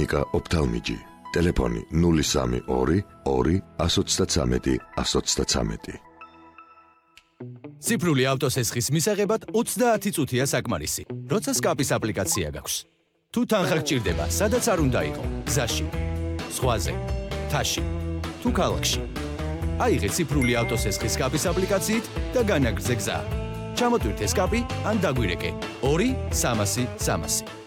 კლინიკა ოფთალმიჯი. ტელეფონი 032 2 133 133. ციფრული ავტოსესხის მისაღებად 30 წუთია საკმარისი. როცა სკაპის აპლიკაცია გაქვს. თუ თანხა გჭირდება, სადაც არ უნდა იყო, გზაში, ზღვაზე, თაში, თუ ქალაქში. აიღე ციფრული ავტოსესხის სკაპის აპლიკაციით და განაგრძე გზა. ჩამოტვირთე სკაპი ან დაგვირეკე 2-300-300.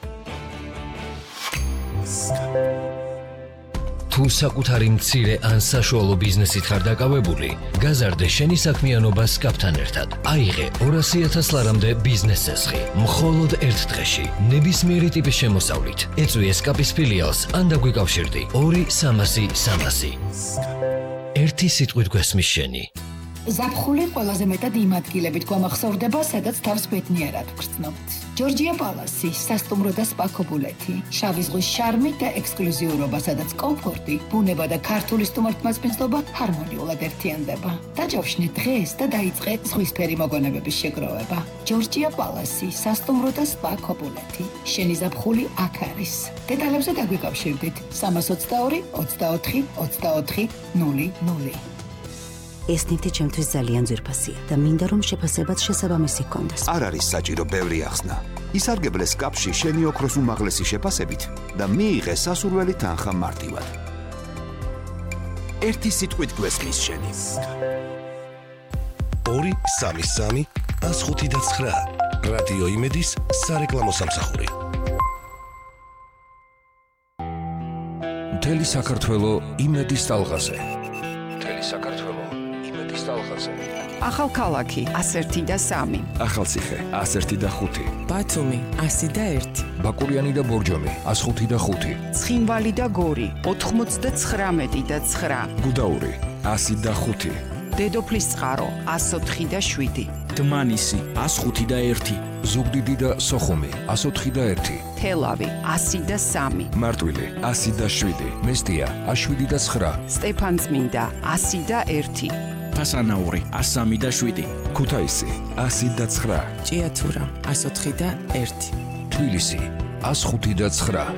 თუ საკუთარი მცირე ან საშუალო ბიზნესით ხარ დაკავებული, გაზარდე შენი საქმიანობა სკაპთან ერთად. აიღე 200,000 ლარამდე ბიზნეს სესხი. მხოლოდ ერთ დღეში, ნებისმიერი ტიპის შემოსავლით. ეწვიე სკაპის ფილიალს ან დაგვიკავშირდი 2-300-300. ერთი სიტყვით გვესმის შენი. ზაფხული ყველაზე მეტად იმ ადგილებით გვამახსოვრდება, სადაც თავს ბედნიერად ვგრძნობთ. ჯორჯია პალასი, სასტუმრო და სპა ქობულეთი, შავი ზღვის შარმი და ექსკლუზიურობა, სადაც კომფორტი, ბუნება და ქართული სტუმართმასპინძლობა ჰარმონიულად ერთიანდება. დაჯავშნე დღეს და დაიწყე ზღვისფერი მოგონებების შეგროვება. ჯორჯია პალასი, სასტუმრო და სპა ქობულეთი. შენი ზაფხული აქ არის. დეტალებზე დაგვიკავშირდით 322 24 24 00. ეს ნივთი ჩემთვის ძალიან ძვირფასია და მინდა რომ შეფასებაც შესაბამისი ჰქონდეს. არ არის საჭირო ბევრი ახსნა. ისარგებლე სკაპში შენი ოქროს უმაღლესი შეფასებით და მიიღე სასურველი თანხა მარტივად. ერთი სიტყვით გვესმის შენი. 2-3-3-105-9 რადიო იმედის სარეკლამო სამსახური. მთელი საქართველო იმედის ტალღაზე. ახალქალაქი 101-3, ახალციხე 101-5, ბათუმი 101, ბაკურიანი და ბორჯომი 105-5, ცხინვალი და გორი 99-9, გუდაური 105, დედოფლისწყარო 104-7, დმანისი 105-1, ზუგდიდი და სოხუმი 104-1, თელავი 103, მარტვილი 107, მესტია 107-9, სტეფანწმინდა 101, ფასანაური 103-7, ქუთაისი 109, ჭიათურა 104-1, თბილისი 105-9.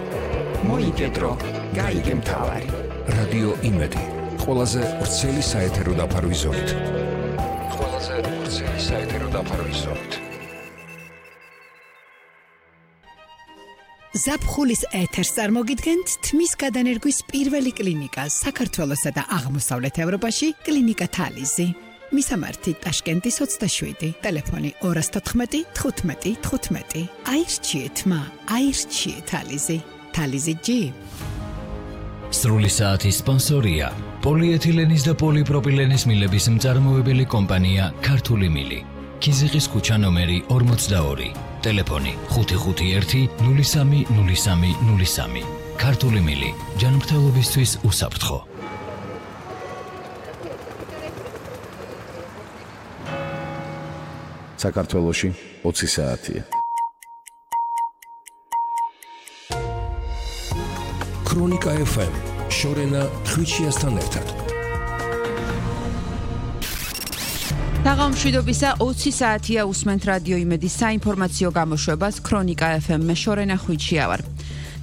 მოიგედრო, გაიგე მთავარი. რადიო იმედი, ყველაზე ვრცელი საეთერო დაფარვის ზოლით. ზაფხულის ეთერს წარმოგიდგენთ თმის გადანერგვის პირველი კლინიკა საქართველოსა და აღმოსავლეთ ევროპაში, კლინიკა თალიზი. მისამართი ტაშკენტის 27, ტელეფონი 214 15 15. აირჩიეთ მა, აირჩიეთ თალიზი. თალიზი G. სრული საათის სპონსორია პოლიეთილენის და პოლიპროპილენის მილების მწარმოებელი კომპანია ქართული მილი. ქიზიყის ქუჩა ნომერი 42, ტელეფონი 551 03 03 03. ქართული მილი, ჯანმრთელობისთვის უსაფრთხო. საქართველოში 20 საათია. ქრონიკა FM, შორენა ხვიჩიასთან ერთად. თაღამშვიდობისა 20 საათია უსმენთ რადიო იმედის საინფორმაციო გამოშვებას ქრონიკა FM-მე შორენა ხვიჩია ვარ.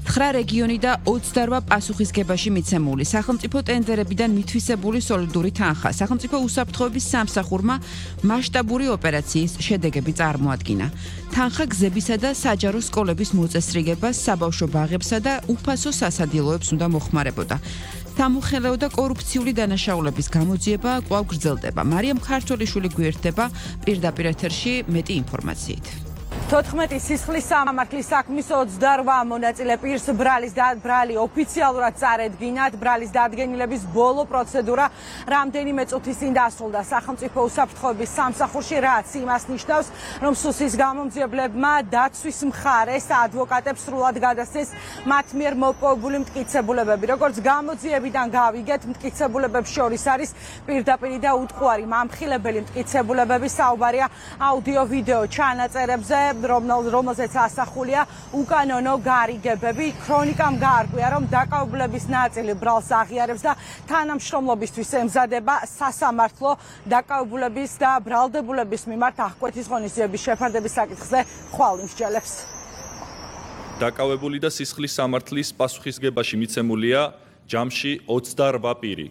9 რეგიონი და 28 პასუხისგებაში მიცემული სახელმწიფო ტენდერებიდან მითვისებული სოლიდური თანხა სახელმწიფო უსაფრთხოების სამსახურმა მასშტაბური ოპერაციის შედეგები წარმოადგინა. თანხა გზებისა და საჯარო სკოლების მოწესრიგებას, საბავშვო ბაღებსა და უფასო სასადილოებს უნდა მოხმარებოდა. სამუხელეო და კორუფციული დანაშაულების გამოძიება კვლავ გრძელდება. მარიამ ქართველიშვილი გვერდება პირდაპირ ეთერში მეტი ინფორმაციით. 14 სისხლის სამართლის საქმის 28 მონაწილე პირს ბრალი ოფიციალურად წარედგინათ. ბრალის დადგენილების ბოლო პროცედურა რამდენიმე წუთის წინ დასრულდა სახელმწიფო უსაფრთხოების სამსახურში, რაც იმას ნიშნავს, რომ სუსის გამომძიებლებმა დაცვის მხარეს ადვოკატებს სრულად გადასცეს მათ მიერ მოპოვებული მტკიცებულებები. როგორც გამოძიებიდან გავიგეთ, მტკიცებულებებს შორის არის პირდაპირი და უტყუარი მამხილებელი მტკიცებულებები. საუბარია აუდიო-ვიდეო ჩანაწერებზე, რომელზეც ასახულია უკანონო გარიგებები. ქრონიკამ გაარკვია, რომ დაკავებლების ნაწილი ბრალს აღიარებს და თანამშრომლობისთვის ემზადება სასამართლო დაკავებულების და ბრალდებულების მიმართ აღკვეთის ღონისძიების შეფარდების საკითხზე ხვალ იმსჯელებს. დაკავებული და სისხლის სამართლის პასუხისგებაში მიცემულია ჯამში 28 პირი.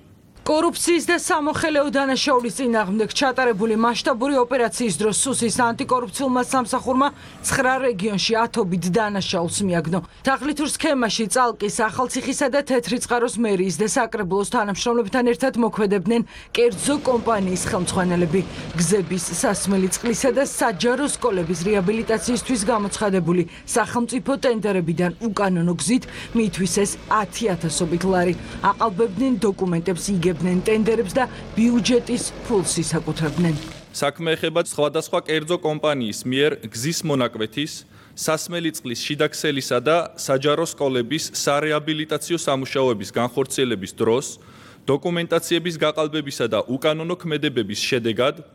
კორუფციის და სამოხელეო დანაშაულის წინააღმდეგ ჩატარებული მასშტაბური ოპერაციის დროს სუსის ანტიკორუფციულმა სამსახურმა 9 რეგიონში ათობით დანაშაულს მიაგნო. თაღლითურ სქემაში წალკის, ახალციხისა და თეთრიწყაროს მერიის და საკრებულოს თანამშრომლებთან ერთად მოქმედებდნენ კერძო კომპანიის ხელმძღვანელები. გზების, სასმელი წყლისა და საჯარო სკოლების რეაბილიტაციისთვის გამოცხადებული სახელმწიფო ტენდერებიდან უკანონო გზით მიითვისეს 10,000-ობით ლარი. აყალბებდნენ დოკუმენტებს, იგებდნენ ტენდერებს და ბიუჯეტის ფულს ისაკუთრებდნენ. საქმე ეხება სხვადასხვა კერძო კომპანიის მიერ გზის მონაკვეთის, სასმელი წყლის შიდაქსელისა და საჯარო სკოლების სარეაბილიტაციო სამუშაოების განხორციელების დროს დოკუმენტაციების გაყალბებისა და უკანონო ქმედებების შედეგად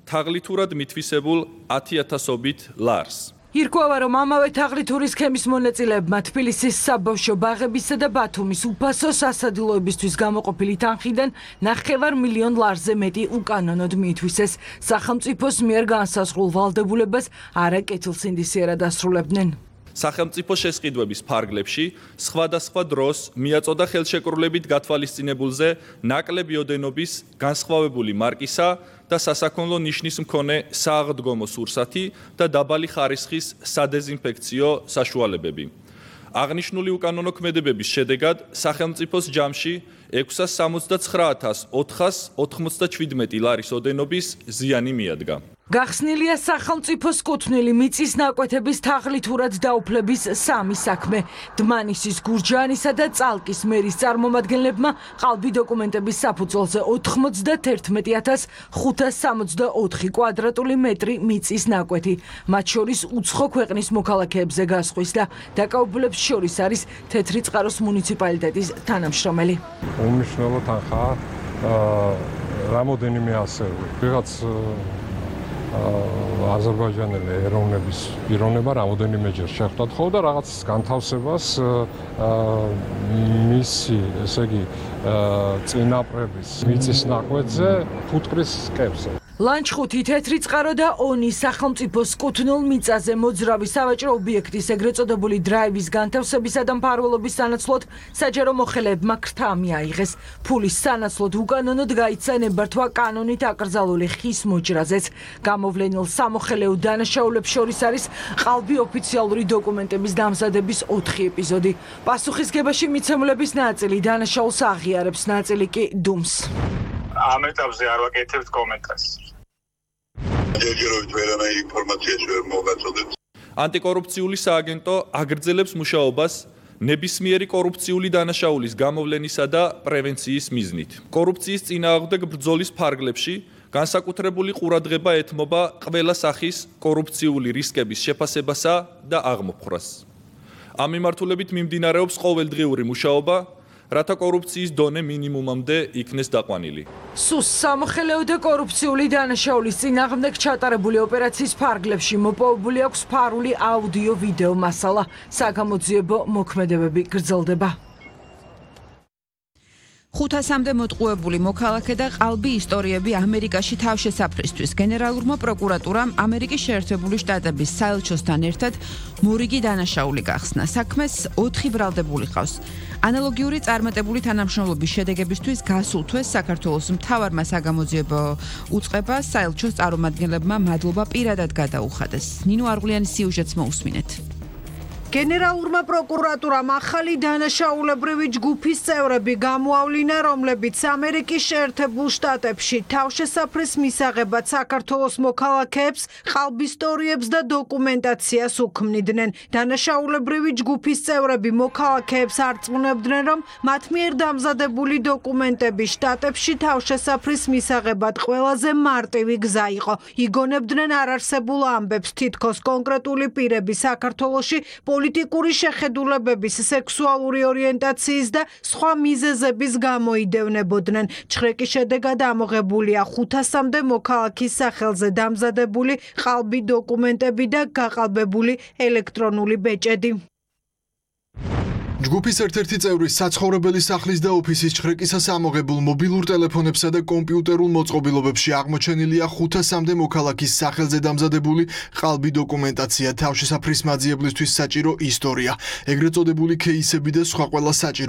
თაღლითურად მითვისებულ 10,000-ობით ლარს. ირკვევა, რომ ამავე თაღლითური სქემის მონაწილეებმა თბილისის საბავშვო ბაღებისა და ბათუმის უფასო სასადილოებისთვის გამოყოფილი თანხიდან 9 მილიონ ლარზე მეტი უკანონოდ მიითვისეს. სახელმწიფოს მიერ განსაზღვრულ ვალდებულებას არაკეთილსინდისიერად ასრულებდნენ. სახელმწიფო შესყიდვების ფარგლებში სხვადასხვა დროს მიაწოდა ხელშეკრულებით გათვალისწინებულზე ნაკლები ოდენობის განსხვავებული მარკისა და სასაქონლო ნიშნის მქონე სააღდგომო სურსათი და დაბალი ხარისხის სადეზინფექციო საშუალებები. აღნიშნული უკანონო ქმედებების შედეგად სახელმწიფოს ჯამში 679,497 ლარის ოდენობის ზიანი მიადგა. გახსნილია სახელმწიფოს კუთვნილი მიწის ნაკვეთების თაღლითურად დაუფლების 3 საქმე. დმანისის, გურჯაანისა და წალკის მერის წარმომადგენლებმა ყალბი დოკუმენტების საფუძველზე 91,564 კვადრატული მეტრი მიწის ნაკვეთი, მათ შორის უცხო ქვეყნის მოქალაქეებზე გასხვის და დაკავებულებს შორის არის თეთრიწყაროს მუნიციპალიტეტის თანამშრომელი. უმნიშვნელო თანხაა რამოდენიმე ასეული. ვიღაც აზერბაიჯანელი ეროვნების პიროვნება რამოდენიმეჯერ შეხვდათ ხო და რაღაც განთავსებას მისი, ესე იგი, წინაპრების მიწის ნაკვეთზე ფუტკრის სკებზე. ლანჩხუთი, თეთრიწყარო და ონი სახელმწიფოს კუთვნილ მიწაზე მოძრავი სავაჭრო ობიექტის ეგრეთ წოდებული დრაივის განთავსებისა და მფარველობის სანაცვლოდ საჯარო მოხელეებმა ქრთა მიაიღეს. ფულის სანაცვლოდ უკანონოდ გაიცა ნებართვა კანონით აკრძალული ხის მოჭრაზეც. გამოვლენილ სამოხელეო დანაშაულებს შორის არის ყალბი ოფიციალური დოკუმენტების დამზადების 4 ეპიზოდი. პასუხისგებაში მიცემულების ნაწილი დანაშაულს აღიარებს, ნაწილი კი დუმს. ამ ეტაპზე არ ვაკეთებთ კომენტარს. ჯერჯერობით ვერანაირი ინფორმაცია ვერ მოგაწოდეთ. ანტიკორუფციული სააგენტო აგრძელებს მუშაობას ნებისმიერი კორუფციული დანაშაულის გამოვლენისა და პრევენციის მიზნით. კორუფციის წინააღმდეგ ბრძოლის ფარგლებში განსაკუთრებული ყურადღება ეთმობა ყველა სახის კორუფციული რისკების შეფასებასა და აღმოფხვრას. ამ მიმართულებით მიმდინარეობს ყოველდღიური მუშაობა, რათა კორუფციის დონე მინიმუმამდე იქნეს დაყვანილი. სუს სამოხელეო და კორუფციული დანაშაულის წინააღმდეგ ჩატარებული ოპერაციის ფარგლებში მოპოვებული აქვს ფარული აუდიო-ვიდეო მასალა. საგამოძიებო მოქმედებები გრძელდება. 500-მდე მოტყუებული მოქალაქე და ყალბი ისტორიები ამერიკაში თავშესაფრისთვის. გენერალურმა პროკურატურამ ამერიკის შეერთებული შტატების საელჩოსთან ერთად მორიგი დანაშაული გახსნა. საქმეს 4 ბრალდებული ყავს. ანალოგიური წარმატებული თანამშრომლობის შედეგებისთვის გასულ თვეს საქართველოს მთავარმა საგამოძიებო უწყებას საელჩოს წარმომადგენლებმა მადლობა პირადად გადაუხადეს. ნინო არღულიანის სიუჟეტს მოусმინეთ. გენერალურმა პროკურატურამ ახალი დანაშაულებრივი ჯგუფის წევრები გამოავლინა, რომლებიც ამერიკის შეერთებულ შტატებში თავშესაფრის მისაღებად საქართველოს მოქალაქეებს, ყალბისტორიებს და დოკუმენტაციას უქმნიდნენ. დანაშაულებრივი ჯგუფის წევრები მოქალაქეებს არწმუნებდნენ, რომ მათ მიერ დამზადებული დოკუმენტები შტატებში თავშესაფრის მისაღებად ყველაზე მარტივი გზა იყო. იგონებდნენ არარსებულ ამბებს, თითქოს კონკრეტული პირები საქართველოში პოლიტიკური შეხედულებების, სექსუალური ორიენტაციის და სხვა მიზეზების გამოიდევნებოდნენ. ჩხრეკის შედეგად ამოღებულია 500-მდე მოქალაქის სახელზე დამზადებული ყალბი დოკუმენტები და გაყალბებული ელექტრონული ბეჭედი. ჯგუფის ერთ-ერთი წევრი საცხოვრებელი სახლის და ოფისის ჩხრეკისას ამოღებულ მობილურ ტელეფონებსა და კომპიუტერულ მოწყობილობებში აღმოჩენილია 500-მდე მოქალაქის სახელზე დამზადებული ყალბი დოკუმენტაცია, თავშესაფრის მაძიებლისთვის საჭირო ისტორია, ეგრეთ წოდებული кейსები და სხვა ყველა საჭირო